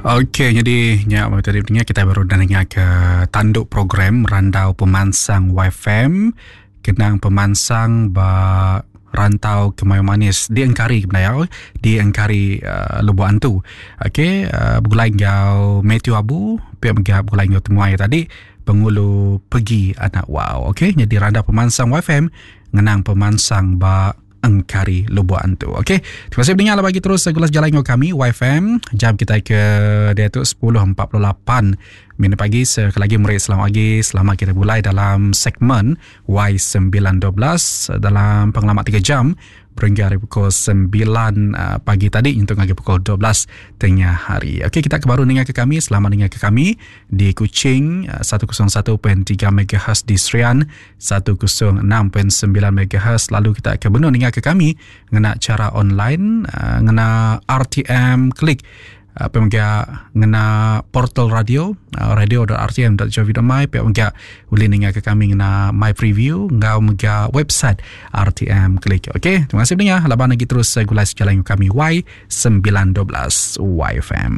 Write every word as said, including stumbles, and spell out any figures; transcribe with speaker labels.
Speaker 1: Okey, jadi nya tadi pengingat kita baru dah dengar ke tanduk program Randau Pemansang Y F M, kenang pemansang ba Rantau Kemayau Manis di Engkari Kemayau, di Engkari uh, Lubuk Antu. Okey, uh, begulai enggau Matthew Abu, pihak mega begulai enggau temuai tadi, Pengulu Pegi Anak Wow. Okey, jadi Randau Pemansang Y F M ngenang pemansang ba Engkari Lubuk Antu. Okey, terima kasih mendengar, bagi terus gulas jalan dengan kami Y F M. Jam kita ke dia tu sepuluh empat puluh lapan minit pagi. Sekali lagi meri selamat pagi. Selamat kita mulai dalam segmen Y sembilan dua belas dalam pengalaman tiga jam berhingga hari pukul sembilan uh, pagi tadi untuk ngagai pukul dua belas tengah hari. Okey, kita baru dengar ke kami, selamat dengar ke kami di Kuching uh, seratus satu perpuluhan tiga M H Z, di Serian seratus enam perpuluhan sembilan M H Z, lalu kita akan benar dengar ke kami ngena cara online uh, ngena R T M Klik, apa mega ngena portal radio uh, radio titik R T M titik gov titik my, pihak mega boleh dengar ke kami ngena my preview ngau mega website R T M Klik. Okey, terima kasih mendengar. Laban lagi terus gulai sejalan kami Y sembilan dua belas Y F M.